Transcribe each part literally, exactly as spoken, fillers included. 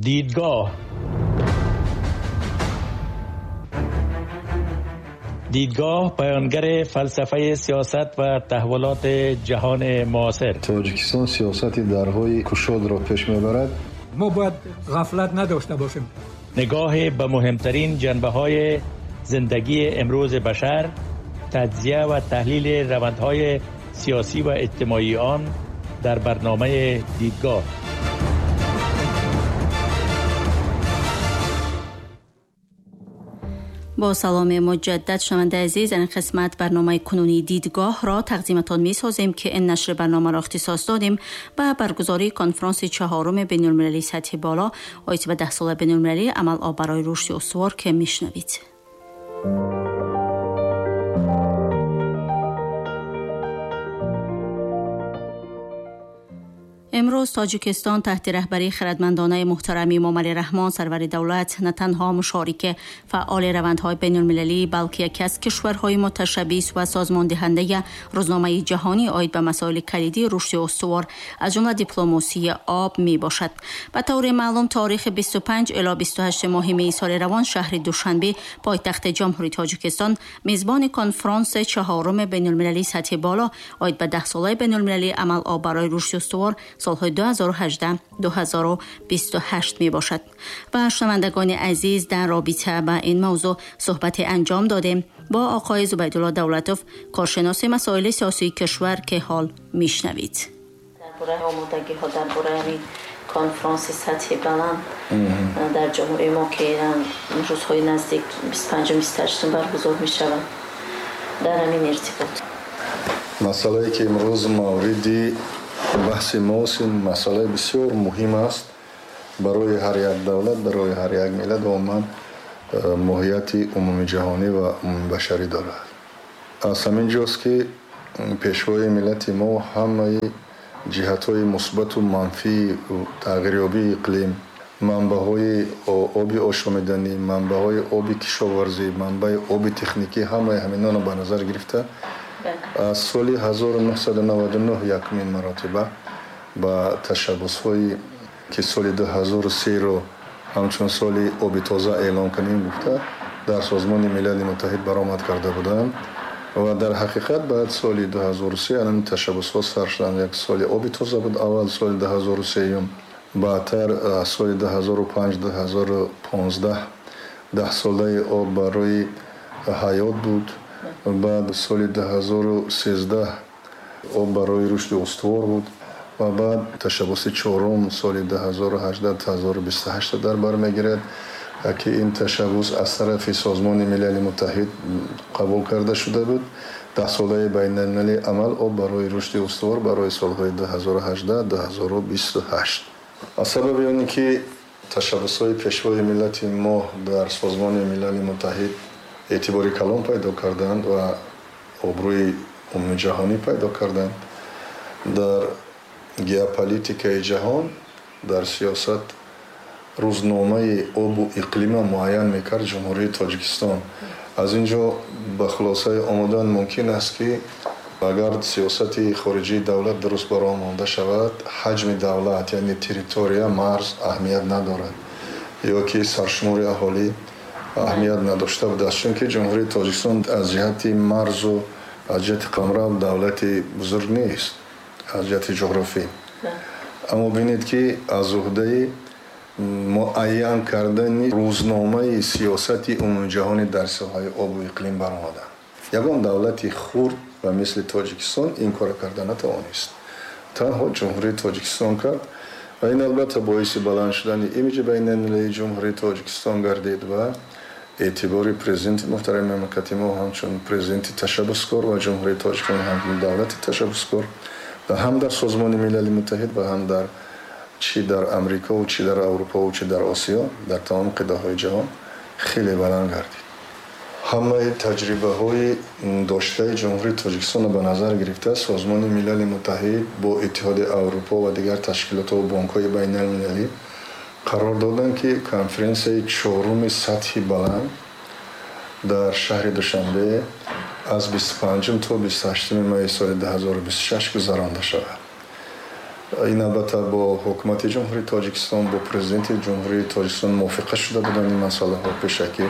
دیدگاه دیدگاه بیانگر فلسفه سیاست و تحولات جهان معاصر. تاجیکستان سیاست درهای کشاد را پیش میبرد. ما باید غفلت نداشته باشیم. نگاه به مهمترین جنبه‌های زندگی امروز بشر، تجزیه و تحلیل روندهای سیاسی و اجتماعی آن در برنامه دیدگاه. با سلام مجدد شنونده عزیز، این قسمت برنامه کنونی دیدگاه را تقدیمتان می سازیم که این نشر برنامه را اختصاص دادیم به برگزاری کنفرانس چهارم بین المللی سطح بالا آید به ده ساله بین المللی عمل آب برای رشد استوار که میشنوید. امروز تاجیکستان تحت رهبری خردمندانه محترم امامعلی رحمان سرور دولت نه تنها مشارک فعال روندهای بین المللی بلکه یکی از کشورهای متشبث و سازمان دهنده روزنامه جهانی عاید به مسائل کلیدی رشد استوار از جمله دیپلماسی آب می باشد. به طور معلوم تاریخ بیست و پنج الی بیست و هشت ماه می سال روان شهر دوشنبه پایتخت جمهوری تاجیکستان میزبان کنفرانس چهارم بین المللی سطح بالا عاید به ده ساله بین المللی عمل آب برای رشد استوار سالهای دو هزار و هجده دو هزار و بیست و هشت می باشد. و شنوندگان عزیز، در رابطه با این موضوع صحبت انجام دادیم با آقای زبیدالله دولتوف، کارشناس مسائل سیاسی کشور که حال میشنوید. درباره آمادگی ها درباره کنفرانس سطح بلند در جمهوری ما که روزهای نزدیک بیست و پنج و بیست و هشت برگزار می شود، در همین ارتباط مسئله که امروز موردی بحث ماست، این مسئله بسیار مهم است برای هر یک دولت، برای هر یک ملت و عموما ماهیت عمومی جهانی و عمومی بشری دارد. از همین جاست که پیشوای ملت ما همه جهت‌های مثبت و منفی تغییریابی اقلیم، منبع‌های آبی آشامیدنی، منبع‌های آبی کشاورزی، منبع آب تکنیکی، همه همینا را به نظر گرفته از سال هزار و نهصد و نود و نه یکمین مراتبه با تشبث‌هایی که سال دو هزار و سه رو همچون سال آب تازه اعلام کنیم گفته در سازمان ملل متحد برآمد کرده بودند و در حقیقت بعد سال دو هزار و سه الان تشبث‌ها سر شدند. یک سال آب تازه بود اول سال دو هزار و سه، بعدتر سال دو هزار و پنج دو هزار و پانزده ده ساله آب برای حیات بود، بعد سال دو هزار و سیزده آب برای رشد استوار بود و بعد تشبث چهارم سال دو هزار و هجده تا دو هزار و بیست و هشت در بر میگیرد که این تشبث از طرف سازمان ملل متحد قبول کرده شده بود. ده ساله بین المللی عمل آب برای رشد استوار برای سالهای دو هزار و هجده دو هزار و بیست و هشت. از سبب آن که تشبث‌های پیشوای ملت ما در سازمان ملل متحد اعتبار کلان پیدا کردند و آبروی عمومی جهانی پیدا کردند، در گئوپلیتیکای جهان، در سیاست روزنامه آب و اقلیم معین میکرد جمهوری تاجیکستان. از اینجا به خلاصه آمدن ممکن است که اگر سیاست خارجی دولت درست برای آمده شود، حجم دولت یعنی تریتوریا، مرز اهمیت ندارد یا که سرشمار اهالی اهمیت نداشته بود، چون که جمهوری تاجیکستان از جهت مرز و از جهت قمرو دولت بزرگ نیست از جهت جغرافی. اما ببینید که از عهده معین کردن روزنامه سیاست عمومی جهانی در ساحه آب و اقلیم برآمدند. یگان دولت خرد و مثل تاجیکستان این کار کرده نتوانست، تنها جمهوری تاجیکستان کرد و این البته باعث بلند شدن ایمیج بین المللی جمهوری تاجیکستان گردید و اعتبار پرزیدنت محترم مملکت ما همچون پرزیدنت تشبثکار و جمهوری تاجیکستان همچون دولت تشبثکار و هم در سازمان ملل متحد و هم در چی در امریکا و چی در اروپا و چی در آسیا، در تمام قطعه‌های جهان خیلی بلند گردید. همه تجربه های داشته جمهوری تاجیکستان به نظر گرفته سازمان ملل متحد با اتحاد اروپا و دیگر تشکیلات و بانک های بین المللی قرار دادند که کنفرانس چهارم سطح بلند در شهر دوشنبه از بیست و پنجم تا بیست و هشتم می سال دو هزار و بیست و شش گذرانده شود. Ин албатта бо ҳукумати Ҷумҳурии Тоҷикистон, бо президенти Ҷумҳурии Тоҷикистон мувофиқа шуда буданд ин масъалаҳо пешакӣ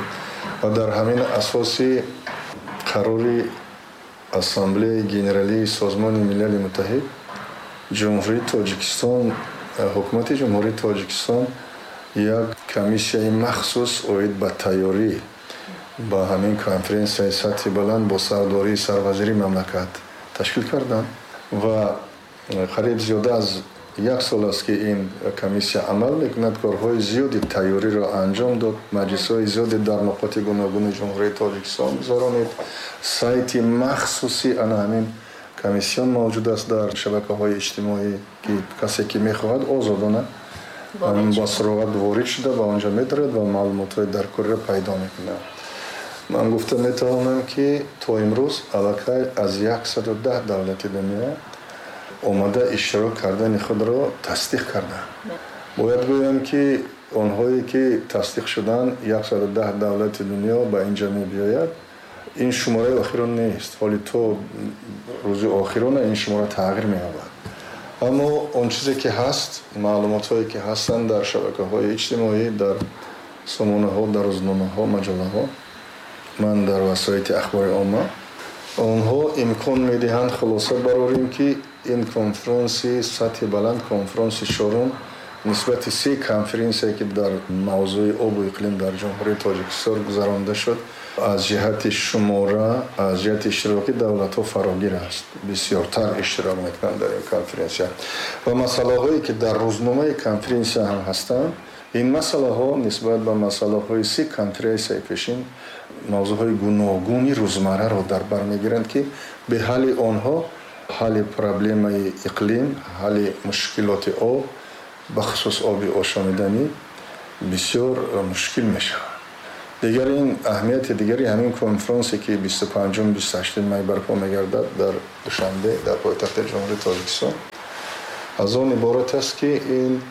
ва дар ҳамин асоси қарори Ассамблеяи Генералии Созмони Милали Муттаҳид Ҷумҳурии Тоҷикистон, ҳукумати Ҷумҳурии Тоҷикистон як комиссияи махсус оид ба тайёрӣ ба ҳамин конференсияи сатҳи баланд бо сардории сарвазири мамлакат ташкил карданд ва қариб зиёда аз як сол аст, ки ин комиссия амал мекунад, корҳои зиёди тайёриро анҷом дод, маҷлисҳои зиёде дар нуқоти гуногуни Ҷумҳурии Тоҷикистон гузаронид. Сайти махсуси ана ҳамин комиссион мавҷуд аст дар шабакаҳои иҷтимоӣ, ки касе ки мехоҳад, озодона бо суроғат ворид шуда ба онҷо медорад ва маълумотҳои даркориро пайдо мекунад. Ман гуфта метавонам, ки то имрӯз аллакай аз яксаду даҳ давлати дунё омада иштирок кардани худро тасдиқ карданд. Бояд гӯям, ки онҳое ки тасдиқ шуданд, яксаду даҳ давлати дунё ба инҷа мебиёяд, ин шумораи охирон нест. Ҳоли то рӯзи охирона ин шумора тағйир меёбад. Аммо он чизе ки ҳаст, маълумотҳое ки ҳастанд дар шабакаҳои иҷтимоӣ, дар сомонаҳо, дар рӯзномаҳо, маҷаллаҳо, ман дар васоити ахбори омма, онҳо имкон медиҳанд хулоса барорем, ки ин конфронси сатҳи баланд, конфронси чорум, нисбати се конференсия, ки дар мавзӯи обу иқлим дар Ҷумҳурии Тоҷикистон гузаронда шуд, аз ҷиҳати шумора, аз ҷиҳати иштироки давлатҳо фарогир аст. Бисёртар иштирок мекунанд дар ин конференсия ва масъалаҳое ки дар рӯзномаи конференсия ҳам ҳастанд, ин масъалаҳо нисбат ба масъалаҳои се конференсияи пешин мавзӯъҳои гуногуни рӯзмарраро дар бар мегиранд, ки бе ҳалли онҳо ҳалли проблемаи иқлим, ҳалли мушкилоти об, бахусус оби ошомиданӣ, бисёр мушкил мешавад. Дигар ин аҳамияти дигари ҳамин конфронсе, ки бисту панҷум, бисту ҳаштуми май барпо мегардад дар Душанбе, дар пойтахти Ҷумҳурии Тоҷикистон, аз он иборат аст, ки ин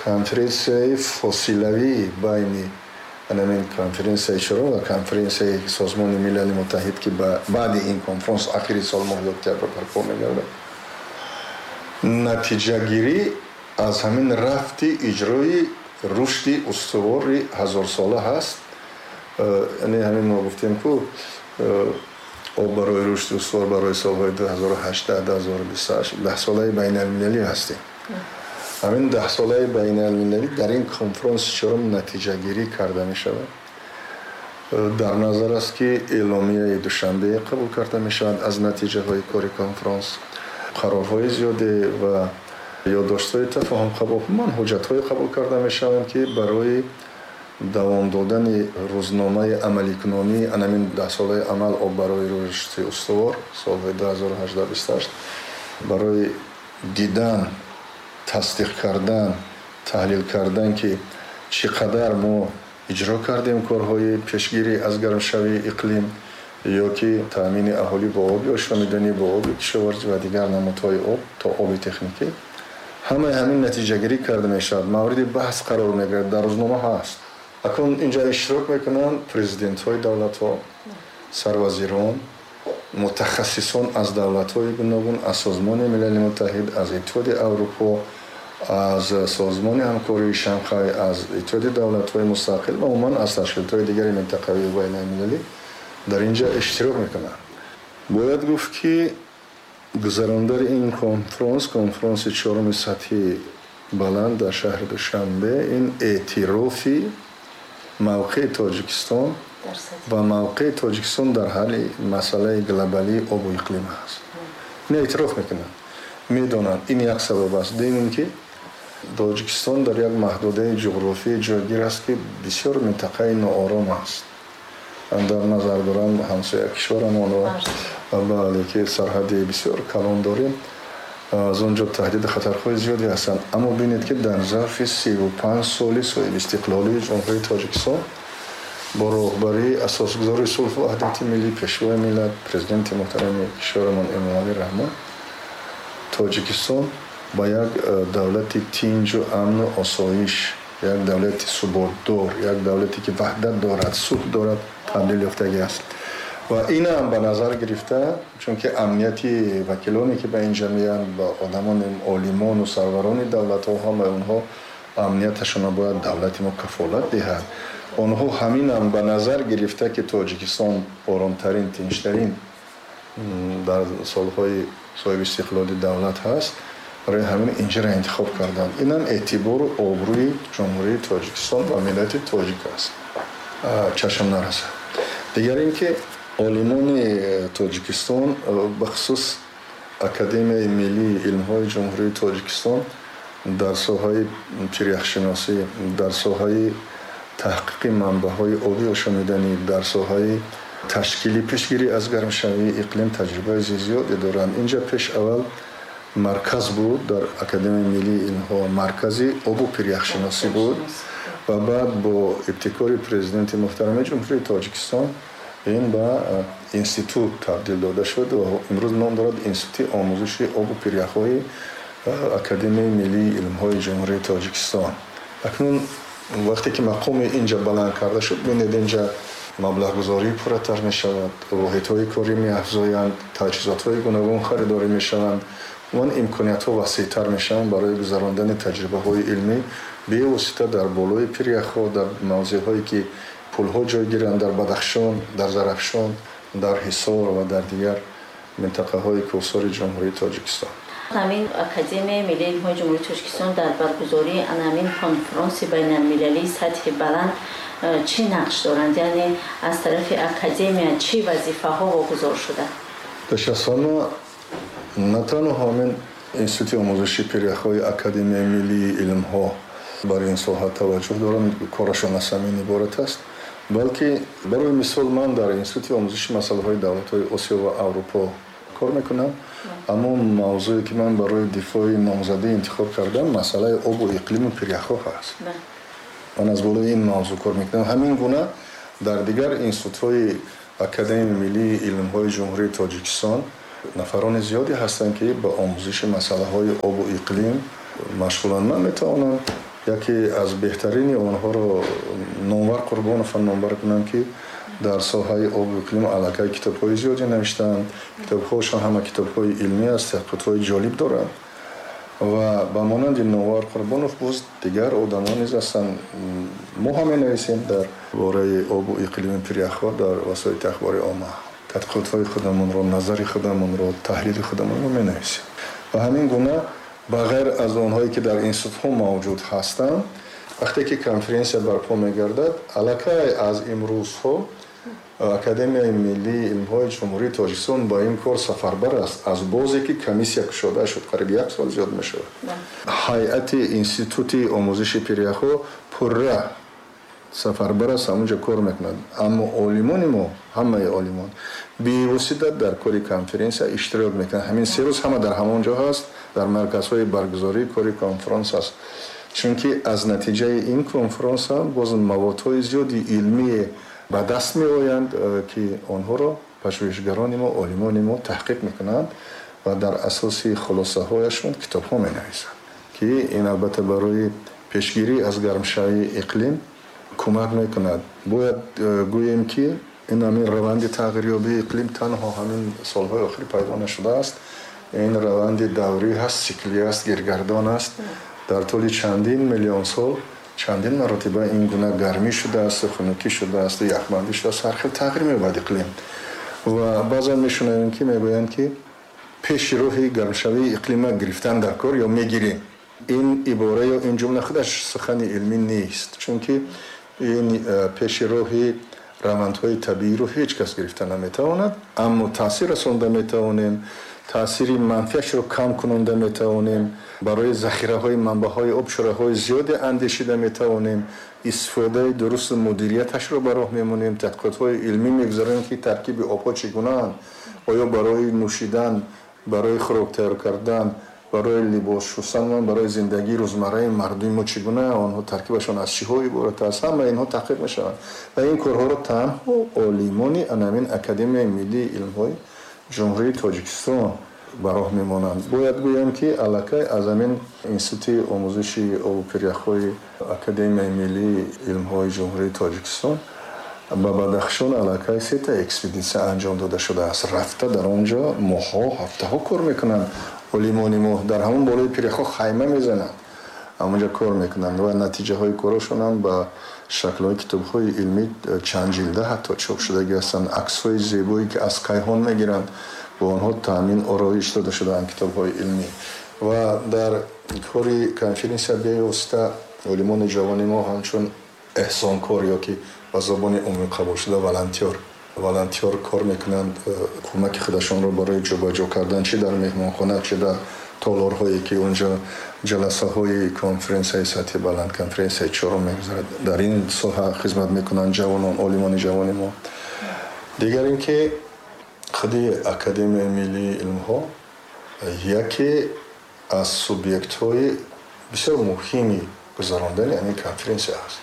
конференсияи фосилавии байни ҳамин конференсияи чорум ва конференсияи Созмони Милали Муттаҳид, ки баъди ин конфронс ахири сол, моҳи октябр барпо мегардад, натиҷагирӣ аз ҳамин рафти иҷрои рушди устувори ҳазорсола ҳаст. Яъне ҳамин мо гуфтем, ку об барои рушди устувор барои солҳои ду ҳазору ҳаждаҳ, ду ҳазору бисту ҳашт, даҳсолаи байналмилалӣ ҳастем. Ҳамин даҳсолаи байналмилалӣ дар ин конфронси чорум натиҷагирӣ карда мешавад. Дар назар аст, ки эъломияи Душанбе қабул карда мешавад аз натиҷаҳои кори конфронс, қарорҳои зиёде ва ёддоштҳои тафоҳум қабул, ман ҳуҷҷатҳое қабул карда мешаванд, ки барои давом додани рӯзномаи амаликунонии анамин даҳсолаи амал об барои рушди устувор солҳои ду ҳазору ҳаждаҳ, бисту ҳашт, барои дидан, тасдиқ кардан, таҳлил кардан, ки чӣ қадар мо иҷро кардем корҳои пешгирӣ аз гармшавии иқлим ё ки таъмини аҳолӣ бо оби ошомиданӣ, бо оби кишоварзӣ ва дигар намудҳои об то оби техникӣ, ҳамаи ҳамин натиҷагирӣ карда мешавад, мавриди баҳс қарор мегирад, дар рӯзнома ҳаст. Акнун инҷа иштирок мекунанд президентҳои давлатҳо, сарвазирон, мутахассисон аз давлатҳои гуногун, аз Созмони Милали Муттаҳид, аз Иттиҳоди Аврупо, аз Созмони ҳамкории Шанхай, аз Иттиҳоди давлатҳои мустақил ва умуман аз ташкилотҳои дигари минтақавӣ ва байналмилалӣ дар инҷа иштирок мекунанд. Бояд гуфт, ки гузарондани ин конфронс, конфронси чоруми сатҳи баланд дар шаҳри Душанбе, ин эътирофи мавқеи Тоҷикистон ва мавқеи Тоҷикистон дар ҳалли масъалаи глобалии обу иқлим аст. Ин эътироф мекунанд, медонанд. Ин як сабаб аст. Дуюм ин ки Тоҷикистон дар як маҳдудаи ҷуғрофӣ ҷойгир аст, ки бисёр минтақаи ноором аст. Дар назар дорам ҳамсоя кишварамонро, бале, ки сарҳади бисёр калон дорем, аз он ҷо таҳдиду хатарҳои зиёде ҳастанд. Аммо бинед, ки дар зарфи сиву панҷ соли соҳибистиқлолии Ҷумҳурии Тоҷикистон бо роҳбарии асосгузори сулҳу ваҳдати миллӣ, пешвои миллат, президенти муҳтарами кишварамон Эмомалӣ Раҳмон, Тоҷикистон ба як давлати тинҷу амну осоиш, як давлати суботдор, як давлате ки ваҳдат дорад, сулҳ дорад, табдил ёфтагӣ аст. Ва ин ҳам ба назар гирифта, чунки амнияти вакилоне ки ба инҷа меянд, ба одамони олимону сарварони давлатҳо, ҳамаи онҳо амнияташонро бояд давлати мо кафолат диҳад. Онҳо ҳаминам ба назар гирифта, ки Тоҷикистон оромтарин, тинчтарин дар солҳои соҳиби истиқлоли давлат ҳаст, барои ҳамин инҷаро интихоб карданд. Инам эътибору обрӯи Ҷумҳурии Тоҷикистон ва миллати тоҷик аст, чашм нарасад. Дигар ин ки олимони Тоҷикистон, бахусус Академияи миллии илмҳои Ҷумҳурии Тоҷикистон, дар соҳаи пиряхшиносӣ, дар соҳаи таҳқиқи манбаъҳои оби ошомиданӣ, дар соҳаи ташкили пешгирӣ аз гармшавии иқлим таҷрибаи зиёде доранд. Инҷа пеш аввал марказ буд, дар Академияи миллии илмҳо маркази обу пиряхшиносӣ буд ва баъд бо ибтикори Президенти муҳтарами Ҷумҳурии Тоҷикистон ин ба институт табдил дода шуд ва имрӯз ном дорад Институти омӯзиши обу пиряхҳои Академияи миллии илмҳои Ҷумҳурии Тоҷикистон. Акнун вақте ки мақоми инҷа баланд карда шуд, бинед, инҷа маблағгузорӣ пурратар мешавад, воҳидҳои корӣ меафзоянд, таҷҳизотҳои гуногун харидорӣ мешаванд, он имкониятҳо васеътар мешаванд барои гузарондани таҷрибаҳои илмӣ бевосита дар болои пиряхҳо, дар мавзеъҳое ки пулҳо ҷой гиранд, дар Бадахшон, дар Зарафшон, дар Ҳисор ва дар дигар минтақаҳои кӯҳсори Ҷумҳурии Тоҷикистон. Ҳамин Академияи миллии илмҳои Ҷумҳурии Тоҷикистон дар баргузории ҳамин конфронси байналмилалии сатҳи баланд э, чӣ нақш доранд? Яъне аз тарафи академия чӣ вазифаҳо вогузор шуда? Пеш аз ҳама, на танҳо ҳамин Институти омӯзиши пиряхҳои Академияи миллии илмҳо бар ин соҳа таваҷҷӯҳ доранд, корашон аз ҳамин иборат аст, балки барои мисол ман дар Институти омӯзиши масъалаҳои давлатҳои Осиё ва Аврупо кор мекунам, аммо мавзӯе ки ман барои дифои номзадӣ интихоб кардам, масъалаи обу иқлиму пиряхҳо ҳаст. Ман аз болои ин мавзӯъ кор мекунам. Ҳамин гуна дар дигар институтҳои Академияи миллии илмҳои Ҷумҳурии Тоҷикистон нафарони зиёде ҳастанд, ки ба омӯзиши масъалаҳои обу иқлим машғуланд. Ман метавонам яке аз беҳтарини онҳоро, Номвар Қурбонова, номбар кунам, ки дар соҳаи обу иқлим аллакай китобҳои зиёде навиштаанд. Китобҳошон ҳама китобҳои илмӣ аст, таҳқиқотҳои ҷолиб доранд. Ва ба монанди Номвар Қурбонов боз дигар одамон низ ҳастанд. Мо ҳам менависем дар бораи обу иқлими пиряхҳо дар васоити ахбори омма, тадқиқотҳои худамонро, назари худамонро, таҳлили худамонро менависем. Ва ҳамин гуна ба ғайр аз онҳое ки дар институтҳо мавҷуд ҳастанд, вақте ки конференсия барпо мегардад, аллакай аз имрӯзҳо Академияи миллии илмҳои Ҷумҳурии Тоҷикистон ба ин кор сафарбар аст. Аз бозе ки комиссия кушода шуд, қариб як сол зиёд мешавад, ҳайати Институти омӯзиши пиряхҳо пурра сафарбар аст, ҳамонҷо кор мекунад. Аммо олимони мо, ҳамаи олимон бевосита дар кори конференсия иштирок мекунанд. Ҳамин се рӯз ҳама дар ҳамон ҷо ҳаст, дар марказҳои баргузории кори конфронс аст, чунки аз натиҷаи ин конфронс ҳам боз маводҳои зиёди илмие ба даст меоянд, э, ки онҳоро пажӯҳишгарони мо, олимони мо таҳқиқ мекунанд ва дар асоси хулосаҳояшон китобҳо менависанд, ки ин албатта барои пешгирӣ аз гармшавии иқлим кӯмак мекунад. Бояд э, гӯем, ки ин ҳамин раванди тағйирёбии иқлим танҳо ҳамин солҳои охир пайдо нашудааст. Ин раванди даврӣ ҳаст, сиклӣ аст, гиргардон аст. Дар тӯли чандин миллион сол чандин маротиба ин гуна гармӣ шудааст, хунукӣ шудааст, яхбандӣ шудааст, ҳар хел тағйир меёбад иқлим. Ва баъзан мешунавем, ки мегӯянд, ки пеши роҳи гармшавии иқлима гирифтан дар кор ё мегирем. Ин ибора ё ин ҷумла худаш сухани илмӣ нест, чунки ин э, пеши роҳи равандҳои табииро ҳеҷ кас гирифта наметавонад, аммо таъсир расонда метавонем, таъсири манфиашро кам кунонда метавонем, барои захираҳои манбаъҳои об чораҳои зиёде андешида метавонем, истифодаи дурусту мудирияташро ба роҳ мемонем, тадқиқотҳои илмӣ мегузаронем, ки таркиби обҳо чӣ гунаанд, оё барои нӯшидан, барои хӯрок тайёр кардан, барои либос шустан, барои зиндагии рӯзмарраи мардуми мо чӣ гуна, онҳо таркибашон аз чиҳо иборат аст. Ҳама инҳо таҳқиқ мешаванд ва ин корҳоро танҳо олимони анамин Академияи миллии илмҳои Ҷумҳурии Тоҷикистон ба роҳ мемонанд. Бояд гӯям, ки аллакай аз ҳамин Институти омӯзиши обу пиряхҳои Академияи миллии илмҳои Ҷумҳурии Тоҷикистон Ба Бадахшон аллакай сета экспедитсия анҷом дода шудааст. Рафта дар он ҷо моҳҳо, ҳафтаҳо кор мекунанд. Олимони мо дар ҳамон болои пиряхҳо хайма мезананд, ҳамонҷо кор мекунанд ва натиҷаҳои корашон ҳам ба шаклҳои китобҳои илмӣ чанд ҷилда ҳатто чоп шудагӣ ҳастанд. Аксҳои зебое ки аз кайҳон мегиранд, бо онҳо таъмин ороиш дода шудаанд китобҳои илмӣ. Ва дар кори конференсия бевосита олимони ҷавони мо ҳамчун эҳсонкор ё ки ба забони умумӣ қабул шуда волонтёр волонтёр кор мекунанд, кӯмаки худашонро барои ҷобаҷо кардан чӣ дар меҳмонхона, чӣ дар толорҳое ки онҷо ҷаласаҳои конференсияи сатҳи баланд, конференсияи чорум мегузарад, дар ин соҳа хизмат мекунанд ҷавонон, олимони ҷавони мо. Дигар ин ки худи Академияи миллии илмҳо яке аз субъектҳои бисёр муҳими гузарондани ҳамин конференсия аст.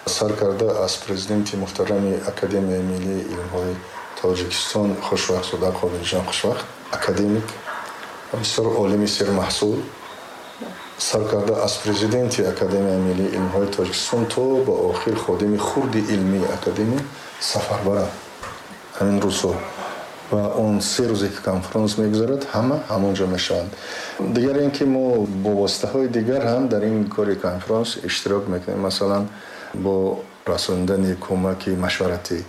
Сар карда аз президенти муҳтарами Академияи миллии илмҳои Тоҷикистон Хушвақтзода Қобилҷон Хушвақт, академик, бисёр олими сермаҳсул, сар карда аз президенти Академияи миллии илмҳои Тоҷикистон то ба охир ходими хурди илмии академия сафарбаранд ҳамин рӯзҳо. Ва он се рӯзе ки конференс мегузарад, ҳама ҳамонҷо мешаванд. Дигар ин ки мо бо воситаҳои дигар ҳам дар ин кори конференс иштирок мекунем. Масалан, бо расонидани кӯмаки машваратӣ,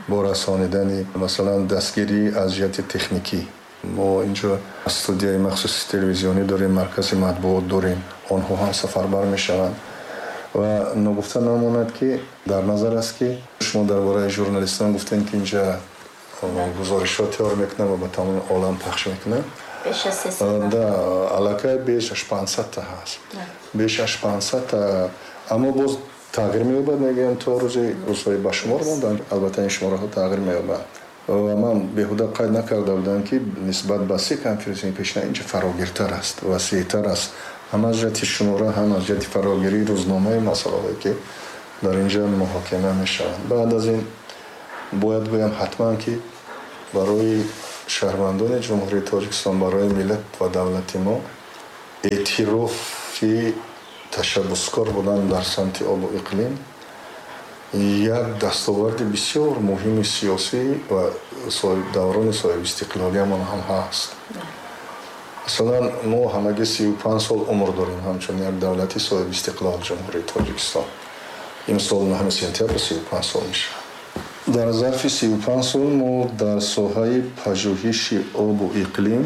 бо расонидани масалан дастгирӣ аз ҷиҳати техникӣ. Мо инҷо студияи махсуси телевизионӣ дорем, маркази матбуот дорем, онҳо ҳам сафарбар мешаванд. Ва ногуфта намонад ки дар назар аст ки шумо дар бораи журналистон гуфтем ки инҷа гузоришҳо тайёр мекунанд ва ба тамоми олам пахш мекунанд. Да, аллакай беш аз панҷсад та ҳаст, беш аз панҷсад та, аммо боз тағйир меёбад, мегӯям то рӯзи рӯзҳои ба шумор монданд, албатта ин шумораҳо тағйир меёбанд. Ва ман беҳуда қайд накарда будам ки нисбат ба се конференсияи пешина инҷа фарогиртар аст, васеътар аст, ҳам аз ҷиҳати шумора, ҳам аз ҷиҳати фарогирии рӯзномаи масъалаҳое ки дар инҷа муҳокима мешаванд. Баъд аз ин бояд гӯям ҳатман ки барои шаҳрвандони Ҷумҳурии Тоҷикистон, барои миллат ва давлати мо эътирофи ташаббускор будан дар самти обу иқлим як дастоварди бисёр муҳими сиёсӣ ва даврони соҳибистиқлолиямон ҳам ҳаст. Масалан, мо ҳамагӣ сию панҷ сол умр дорем ҳамчун як давлати соҳибистиқлол Ҷумҳурии Тоҷикистон. Имсол нӯҳуми сентябр сию панҷ сол мешавад. Дар зарфи сию панҷ сол мо дар соҳаи пажӯҳиши обу иқлим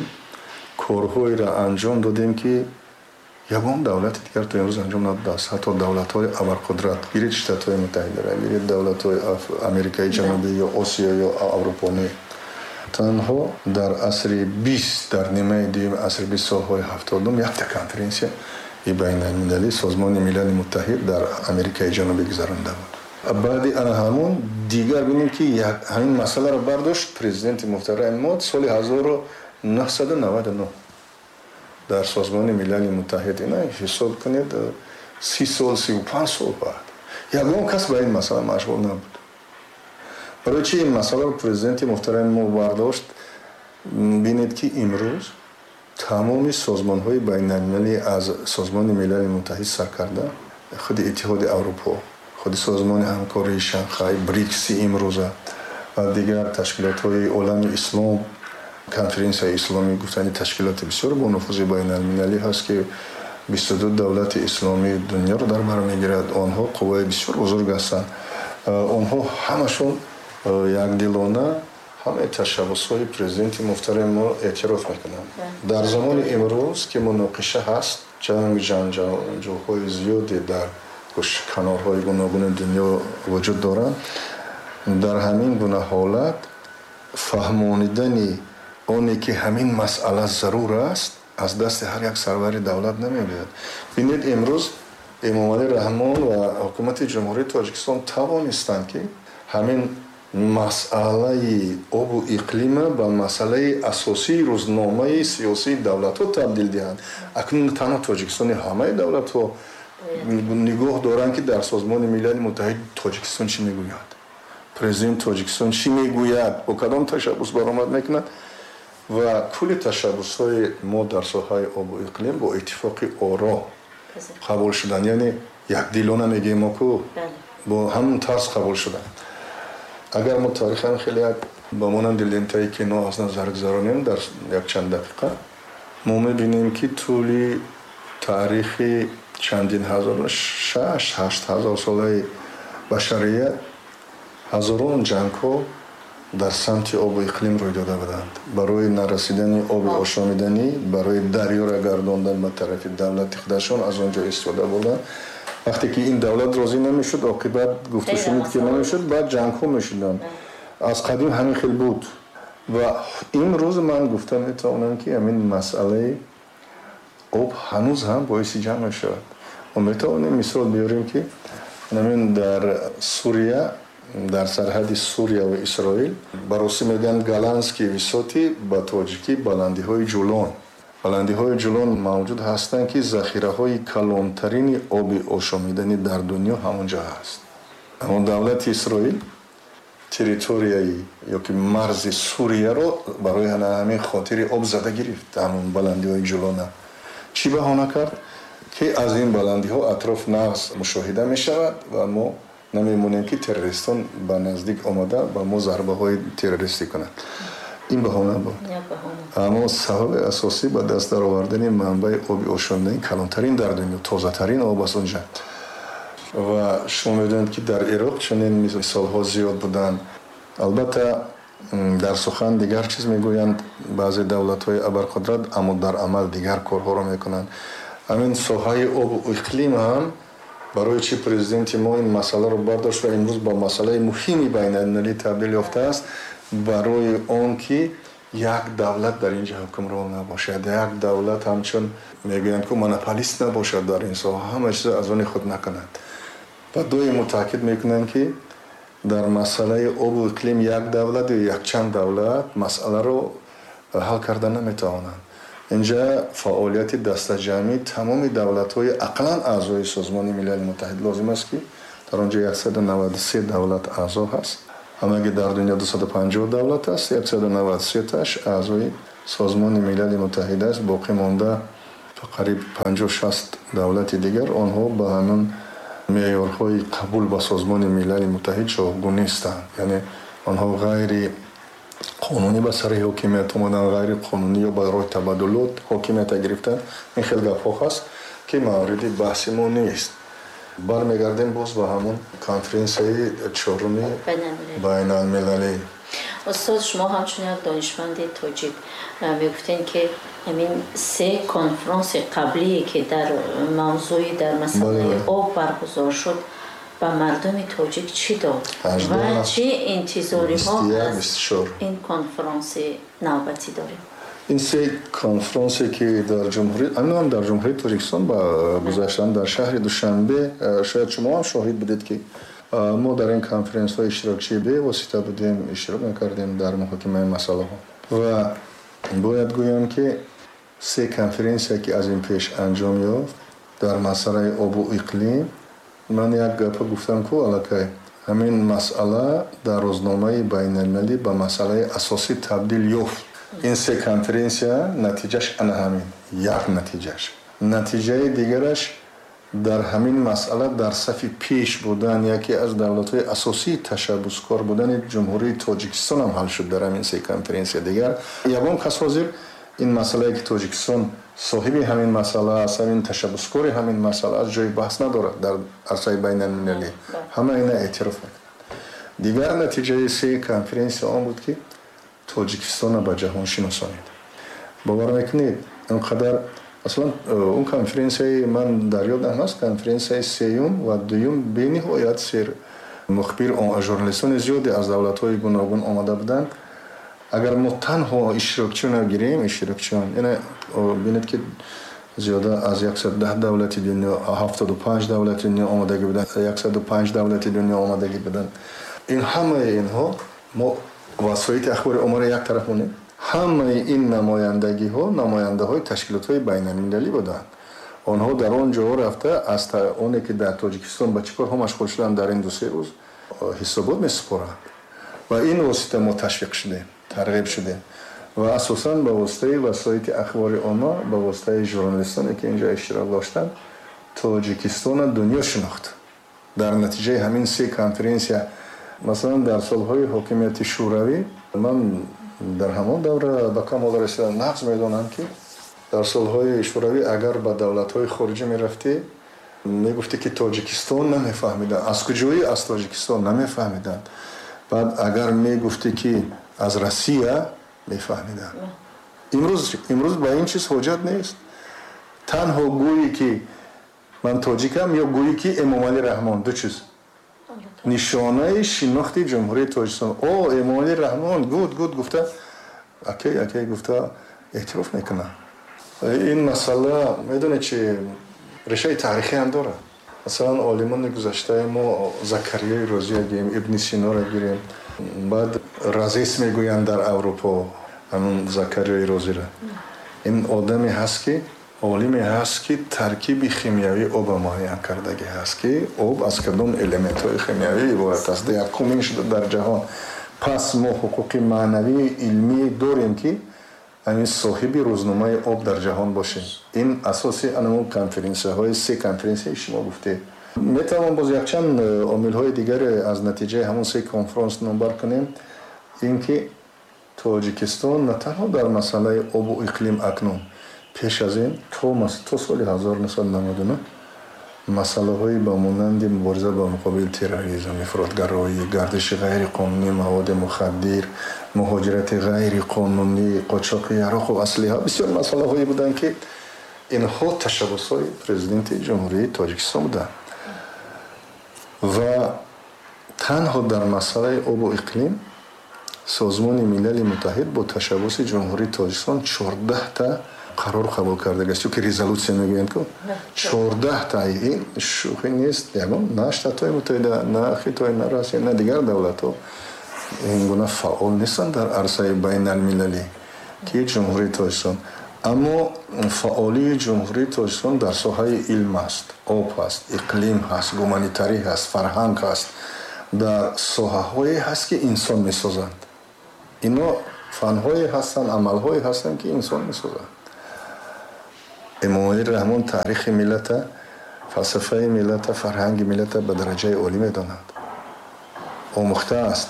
корҳоеро анҷом додем ки ягон давлати дигар то имрӯз анҷом надодааст. Ҳатто давлатҳои абарқудрат, гиред Штатҳои Муттаҳидаро, гиред давлатҳои Америкаи Ҷанубӣ ё Осиё ё Аврупонӣ. Танҳо дар асри бист, дар нимаи дуюми асри бист, солҳои ҳафтодум якта конференсияи байналмилалии Созмони Милали Муттаҳид дар Америкаи Ҷанубӣ гузаронда буд. Баъди ана ҳамон дигар бинем ки ҳамин масъаларо бардошт президенти муҳтарами мо соли ҳазору нӯҳсаду наваду нӯҳ дар Созмони Милали Муттаҳид. Ина ҳисоб кунед, си сол, сию панҷ сол баъд ягон кас ба ин масъала машғул набуд. Барои чи ин масъаларо президенти муҳтарами мо бардошт? Бинед ки имрӯз тамоми созмонҳои байналмилалӣ аз Созмони Милали Муттаҳид сар карда худи Иттиҳоди Аврупо, худи Созмони ҳамкории Шанхай, Брикси имрӯза ва дигар ташкилотҳои олами ислом, конференсияи исломӣ гуфтани ташкилоти бисёр бонуфузи байналмилалӣ ҳаст ки бисту ду давлати исломии дунёро дар бар мегирад. Онҳо қувваи бисёр бузург ҳастанд. Онҳо ҳамашон якдилона ҳамаи ташаббусҳои президенти муҳтарами мо эътироф мекунанд. Дар замони имрӯз ки муноқиша ҳаст, ҷанг, ҷанҷолҳои зиёде дар канорҳои гуногуни дунё вуҷуд доранд, дар ҳамин гуна ҳолат фаҳмонидани оне ки ҳамин масъала зарур аст аз дасти ҳар як сарвари давлат намебиёд. Бинед, имрӯз Эмомалӣ Раҳмон ва ҳукумати Ҷумҳурии Тоҷикистон тавонистанд ки ҳамин масъалаи обу иқлима ба масъалаи асосии рӯзномаи сиёсии давлатҳо табдил диҳанд. Акнун танҳо Тоҷикистони ҳамаи давлатҳо нигоҳ доранд ки дар Созмони Милали Муттаҳид Тоҷикистон чӣ мегӯяд, президент Тоҷикистон чӣ мегӯяд, бо кадом ташаббус баромад мекунад. Ва кулли ташаббусҳои мо дар соҳаи обу иқлим бо иттифоқи оро қабул шуданд. Яъне якдилона мегӯем мо ку бо ҳамон тарз қабул шуданд. Агар мо таърихан хеле як ба монанди лентаи кино аз назар гузаронем дар якчанд дақиқа, мо мебинем ки тӯли таърихи чандин ҳазор, шаш ҳашт ҳазор солаи башарият ҳазорон ҷангҳо дар самти обу иқлим рӯй дода буданд. Барои нарасидани оби ошомиданӣ, барои дарёра гардондан ба тарафи давлати худашон аз он ҷо истифода бурданд. Вақте ки ин давлат розӣ намешуд, оқибат гуфтушунид ки намешуд, баъд ҷангҳо мешуданд. Аз қадим ҳамин хел буд. Ва имрӯз ман гуфта метавонам, ки ҳамин масъалаи об ҳанӯз ҳам боиси ҷанг мешавад. Мо метавонем мисол биёрем, ки ҳамин дар Сурия, дар сарҳади Сурия ва Исроил, ба русӣ мегӯянд Голландские высоты, ба тоҷикӣ баландиҳои Ҷулон. Баландиҳои Ҷулон мавҷуд ҳастанд, ки захираҳои калонтарини оби ошомиданӣ дар дунё ҳамон ҷо ҳаст. Аммо давлати Исроил территорияи ё ки марзи Сурияро барои ҳамин хотири об зада гирифт, ҳамон баландиҳои Ҷулона. Чӣ баҳона кард? Ки аз ин баландиҳо атроф нағз мушоҳида мешавад ва мо намемонем, ки террористон ба наздик омада ба мо зарбаҳои террористӣ кунанд. Ин баҳона буд. Аммо сабаби асосӣ ба даст даровардани манбаи оби ошомиданӣ калонтарин дар дунё, тозатарин об аст онҷа. Ва шумо медонед, ки дар Ироқ чунин мисолҳо зиёд буданд. Албатта, дар сухан дигар чиз мегӯянд баъзе давлатҳои абарқудрат, аммо дар амал дигар корҳоро мекунанд. Ҳамин соҳаи обу иқлим ҳам барои чӣ президенти мо ин масъаларо бардошт ва имрӯз ба масъалаи муҳими байналмилалӣ табдил ёфтааст? Барои он ки як давлат дар ин ҷо ҳукмрон набошад, як давлат ҳамчун мегӯянд ку монополист набошад дар ин соҳа, ҳама чиз аз они худ накунад. Ва доимо таъкид мекунанд, ки дар масъалаи обу иқлим як давлат ё якчанд давлат масъаларо ҳал карда наметавонанд. Инҷа фаъолияти дастаҷамъии тамоми давлатҳои ақаллан аъзои Созмони Милали Муттаҳид лозим аст, ки дар он ҷо яксаду наваду се давлат аъзо ҳаст. Ҳамаги дар дунё дусаду панҷоҳ давлат аст, яксаду наваду сеташ аъзои Созмони Милали Муттаҳид аст. Боқӣ монда қариб панҷоҳ шаст давлати дигар, онҳо ба ҳамин меъёрҳои қабул ба Созмони Милали Муттаҳид ҷавобгӯ нестанд. Яъне онҳо ғайри қонунӣ ба сари ҳокимият омаданд, ғайри қонунӣ ё ба роҳи табаддулот ҳокимията гирифтанд. Ин хел гапҳо ҳаст, ки мавриди баҳси мо нест. Бармегардем боз ба ҳамон конференсияи чоруми байналмилалӣ. Устод, шумо ҳамчун як донишманди тоҷик мегуфтем, ки ҳамин се конфронси қаблие, ки дар мавзӯи, дар масъалаи об баргузор шуд, ба мардуми тоҷик чӣ дод ва чӣ интизориҳо аз ин конфронси навбатӣ дорем? Ин се конфронсе, ки дар ҷумҳурӣ, ҳам дар Ҷумҳурии Тоҷикистон ба гузаштан, дар шаҳри Душанбе, шояд шумо ҳам шоҳид будед, ки мо дар ин конференсҳо иштирокчии бевосита будем, иштирок мекардем дар муҳокимаи масъалаҳо. Ва бояд гӯям, ки се конференсия, ки аз ин пеш анҷом ёфт дар масъалаи обу иқлим, ман як гапа гуфтам ку аллакай, ҳамин масъала дар рӯзномаи байналмилалӣ ба масъалаи асосӣ табдил ёфт. Ин се конференсия натиҷаш ана ҳамин як натиҷаш. Натиҷаи дигараш дар ҳамин масъала дар сафи пеш будан, яке аз давлатҳои асосии ташаббускор будани Ҷумҳурии Тоҷикистон ҳам ҳал шуд дар ҳамин се конференсия. Дигар ягон кас ҳозир ин масъалае, ки Тоҷикистон соҳиби ҳамин масъала аст, ҳамин ташаббускори ҳамин масъала аст, ҷои баҳс надорад дар арсаи байналмилалӣ. Ҳама ина эътироф мекунанд. Дигар натиҷаи се конференсия он буд, ки Тоҷикистонро ба ҷаҳон шиносонид. Бовар мекунед, инқадар масалан он конференсияи ман дар ёдам ҳаст, конференсияи сеюм ва дуюм бениҳоят сер мухбир, журналистони зиёде аз давлатҳои гуногун омада буданд. Агар мо танҳо иштирокчиёнро гирем, иштирокчиён, яъне бинед, ки зиёда аз яксаду даҳ давлати дунё, ҳафтоду панҷ давлати дунё омадагӣ буданд, яксаду панҷ давлати дунё омадагӣ буданд. Ин ҳамаи инҳо, мо васоити ахбори оммаро як тараф монем, ҳамаи ин намояндагиҳо намояндаҳои ташкилотҳои байналмилалӣ буданд. Онҳо дар он ҷо рафта аз оне, ки дар Тоҷикистон ба чӣ корҳо машғул шуданд дар ин ду се рӯз, ҳисобот месупоранд. Ва ин восита мо ташвиқ шудем, тарғиб шудем ва асосан ба воситаи васоити ахбори омма, ба воситаи журналистоне, ки инҷо иштирок доштанд, Тоҷикистона дунё шинохт. Дар натиҷаи ҳамин се конференсия Масалан, дар солҳои ҳокимияти Шӯравӣ ман дар ҳамон давра ба камол расидам, нағз медонам, ки дар солҳои Шӯравӣ агар ба давлатҳои хориҷӣ мерафтӣ, мегуфтӣ, ки Тоҷикистон, намефаҳмиданд. Аз куҷоӣ? Аз Тоҷикистон, намефаҳмиданд. Баъд агар мегуфтӣ, ки аз Россия, мефаҳмиданд. Имрӯз имрӯз ба ин чиз ҳоҷат нест. Танҳо гӯӣ, ки ман тоҷикам, ё гӯӣ, ки Эмомалӣ Раҳмон, ду чиз нишонаи шинохти Ҷумҳурии Тоҷикистон. О, Эмомалӣ Раҳмон, гуд гуд гуфта, окей, окей гуфта эътироф мекунанд. Ин масъала, медонед, чи решаи таърихӣ ҳам дорад. Масалан, олимони гузаштаи мо, Закариёи Розия гирем, Ибни Синоро гирем, баъд Разес мегӯянд дар Аврупо ҳамун Закариёи Розиро. Ин одаме ҳаст, ки олиме ҳаст, ки таркиби химиявии оба муайян кардагӣ ҳаст, ки об аз кадом элементҳои химиявӣ иборат аст. Якумин шуда дар ҷаҳон. Пас мо ҳуқуқи маънавии илмӣ дорем, ки ҳамин соҳиби рӯзномаи об дар ҷаҳон бошем. Ин асоси анамун конференсияҳои, се конференсияи шумо гуфтед. Метавон боз якчанд омилҳои дигаре аз натиҷаи ҳамон се конфронс номбар кунем. Ин ки Тоҷикистон на танҳо дар масъалаи обу иқлим, акнун, пеш аз ин то соли ҳазору нӯҳсаду наваду нӯҳ масъалаҳои ба монанди мубориза ба муқобили терроризм, ифротгароӣ, гардиши ғайриқонунии маводи мухаддир, муҳоҷирати ғайриқонунӣ, қочоқи яроқу аслиҳа, бисёр масъалаҳое буданд, ки инҳо ташаббусҳои Президенти Ҷумҳурии Тоҷикистон буданд. Ва танҳо дар масъалаи обу иқлим Созмони Милали Муттаҳид бо ташаббуси Ҷумҳурии Тоҷикистон чордаҳта қарор қабул кардагиаст, ё ки резолюция мегӯянд ку, чордаҳта. Ин шӯхӣ нест. Ягон на Штатҳои Муттаҳида, на Хитой, на Россия, на дигар давлатҳо ин гуна фаъол нестанд дар арсаи байналмилалӣ, ки Ҷумҳурии Тоҷикистон. Аммо фаъолии Ҷумҳурии Тоҷикистон дар соҳаи илм аст, об ҳаст, иқлим ҳаст, гуманитарӣ ҳаст, фарҳанг ҳаст, дар соҳаҳое ҳаст, ки инсон месозанд. Ино фанҳое ҳастанд, амалҳое ҳастанд, ки инсон месозанд. Эмомалӣ Раҳмон таърихи миллата, фалсафаи миллата, фарҳанги миллата ба дараҷаи олӣ медонад, омӯхтааст.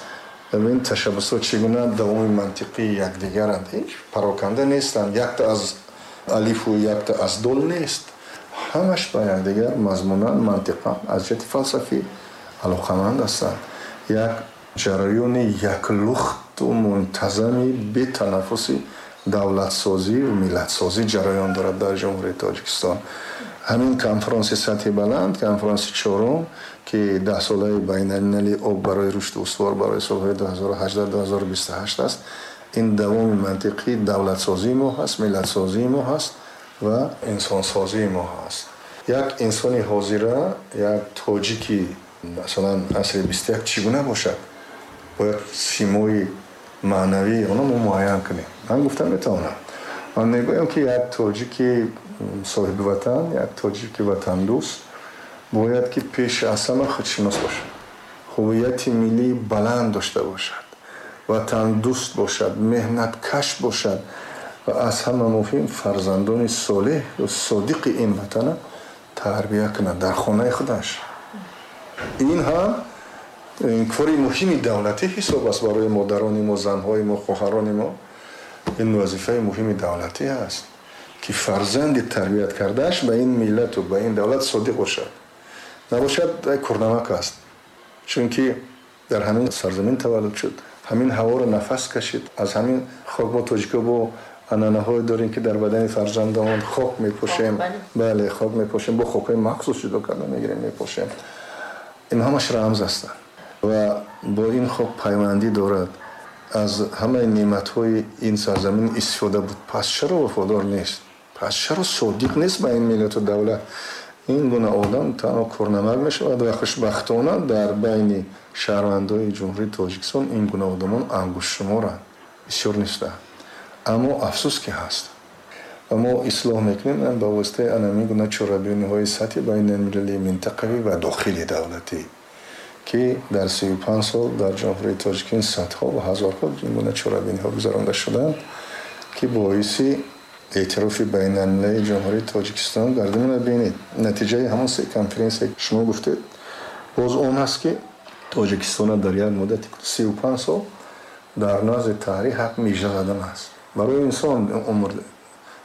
Ин ташаббусҳо чӣ гуна давоми мантиқии якдигаранд, ҳеҷ пароканда нестанд, якта аз алифу якта аз дол нест. Ҳамаш ба якдигар мазмунан, мантиқан, аз ҷиҳати фалсафӣ алоқаманд ҳастанд. Як ҷараёни яклухту мунтазами бетанаффуси давлатсозӣ ва миллатсозӣ ҷараён дорад дар Ҷумҳурии Тоҷикистон. Ҳамин конфронси сатҳи баланд, конфронси чорум, ки даҳсолаи байналмилалии об барои рушду устувор барои солҳои ду ҳазору ҳаждаҳ-ду ҳазору бисту ҳашт аст, ин давоми мантиқии давлатсозии мо ҳаст, миллатсозии мо ҳаст ва инсонсозии мо ҳаст. Як инсони ҳозира, як тоҷики, масалан, асри бисту як чӣ гуна бошад, бояд симои маънавии онро мо муайян кунем. Ман гуфта метавонам, ман мегӯям, ки як тоҷики соҳиби ватан, як тоҷики ватандӯст бояд ки пеш аз ҳама худшинос бошад, ҳуввияти миллии баланд дошта бошад, ватандӯст бошад, меҳнаткаш бошад ва аз ҳама муҳим, фарзандони солеҳ ва содиқи ин ватана тарбия кунад дар хонаи худаш. Ин ҳам кори муҳими давлатӣ ҳисоб аст барои модарони мо, занҳои мо, хоҳарони мо. Ин вазифаи муҳими давлатӣ аст, ки фарзанди тарбият кардааш ба ин миллату ба ин давлат содиқ бошад. Набошад, курнамак аст, чунки дар ҳамин сарзамин таваллуд шуд, ҳамин ҳаворо нафас кашид, аз ҳамин хок. Мо тоҷико бо анъанаҳое дорем, ки дар бадани фарзандамон хок мепошем. Бале, хок мепошем, бо хокҳои махсус ҷудо карда мегирем, мепошем. Ин ҳамаш рамз ҳастанд ва бо ин хок пайвандӣ дорад, аз ҳамаи неъматҳои ин сарзамин истифода буд. Пас чаро вафодор нест? Пас чаро содиқ нест ба ин миллату давлат? Ин гуна одам танҳо курнамак мешавад ва хушбахтона дар байни шаҳрвандои Ҷумҳурии Тоҷикистон ин гуна одамон ангуштшуморанд, бисёр нестанд, аммо афсӯс, ки ҳаст. Ва мо ислоҳ мекунем ба воситаи анамин гуна чорабиниҳои сатҳи байналмилалӣ, минтақавӣ ва дохили давлатӣ, ки дар сию панҷ сол дар Ҷумҳурии Тоҷикистон садҳо ва ҳазорҳо ин гуна чорабиниҳо гузаронда шуданд, ки боиси эътирофи байналмилалии Ҷумҳурии Тоҷикистон гардид. Бинед, натиҷаи ҳамон се конференсия, шумо гуфтед, боз он аст, ки Тоҷикистон дар як муддати си ва панҷ сол дар назди таърих ҳақ мижа задан аст. Барои инсон умр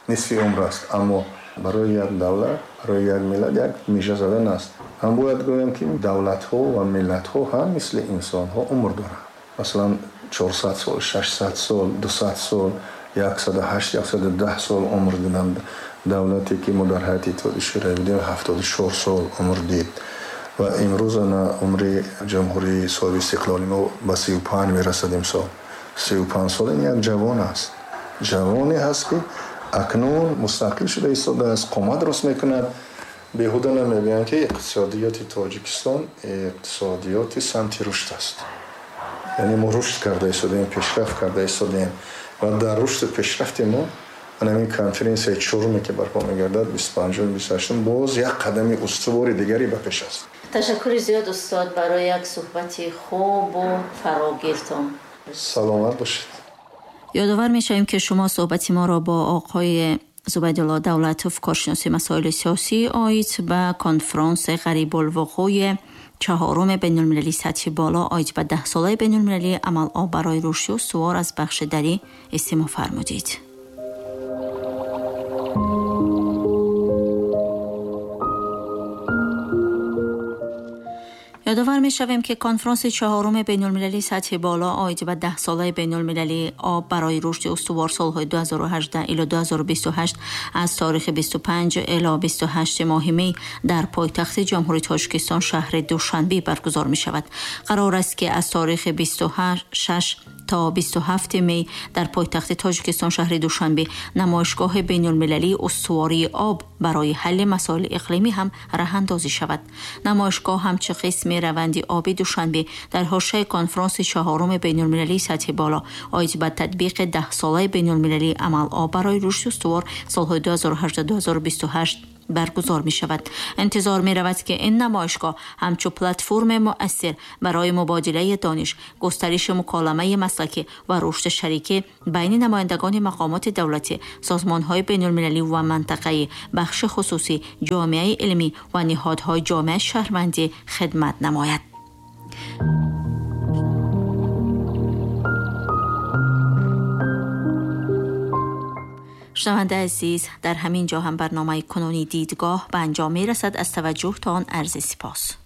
нисфи умр аст, аммо барои як давлат, барои як миллат як мижа задан аст. Ҳам бояд гӯям, ки давлатҳо ва миллатҳо ҳам мисли инсонҳо умр доранд. Масалан, чорсад сол, шашсад сол, дусад сол, яксаду ҳашт, яксаду даҳ сол умр диданд. Давлате ки мо дар ҳайати Иттиҳоди Шӯравӣ будем, ҳафтоду чор сол умр дид ва имрӯз ана умри ҷумҳурии соҳиби истиқлоли мо ба си ва панҷ мерасад имсол. Си ва панҷ сол ин як ҷавон аст. Ҷавоне ҳаст, ки акнун мустақил шуда истодааст, қомат рост мекунад. Беҳуда намегӯянд, ки иқтисодиёти Тоҷикистон иқтисодиёти самти рушд аст. Яъне мо рушд карда истодаем, пешрафт карда истодаем ва дар рушду пешрафти мо ҳамин конференсияи чоруме, ки барпо мегардад, бисту панҷум, бисту ҳаштум, боз як қадами устувори дигаре ба пеш аст. Ташаккури зиёд, устод, барои як суҳбати хубу фарогиртон. Саломат бошед. Ёдовар мешавем, ки шумо суҳбати моро бо оқои Зубайдулло Давлатов, коршиноси масоили сиёсӣ оид ба конфронси ғарибулвуқӯи чаҳоруми байналмилалии сатҳи боло оид ба даҳсолаи байналмилалии амал-об барои рушди устувор аз бахши дарӣ истимоъ фармудид. Ёдовар мешавем, ки конфронси чаҳоруми байналмилалии сатҳи боло оид ба даҳсолаи байналмилалии об барои рушди устувор солҳои ду ҳазору ҳаждаҳ ило ду ҳазору бисту ҳашт аз таърихи бисту панҷ ило бисту ҳашт моҳи май дар пойтахти Ҷумҳурии Тоҷикистон шаҳри Душанбе баргузор мешавад. Қарор аст, ки аз таърихи бисту шаш то бисту ҳафт май дар пойтахти Тоҷикистон шаҳри Душанбе намоишгоҳи байналмилалии устувории об барои ҳалли масоили иқлимӣ ҳам роҳандозӣ шавад. Намоишгоҳ ҳамчун қисми раванди оби Душанбе дар ҳошияи конфронси чаҳоруми байналмилалии сатҳи боло оид ба татбиқи даҳсолаи байналмилалии амал-об барои рушди устувор солҳои ду ҳазору ҳаждаҳ ду ҳазору бисту ҳашт баргузор мешавад. Интизор меравад, ки ин намоишгоҳ ҳамчун платформи муассир барои мубодилаи дониш, густариши муколамаи маслакӣ ва рушди шарикӣ байни намояндагони мақомоти давлатӣ, созмонҳои байналмилалӣ ва минтақаӣ, бахши хусусӣ, ҷомеаи илмӣ ва ниҳодҳои ҷомеаи шаҳрвандӣ хидмат намояд. شنونده عزیز، در همین جا هم برنامه کنونی دیدگاه به انجام میرسد. از توجه تان عرض سپاس.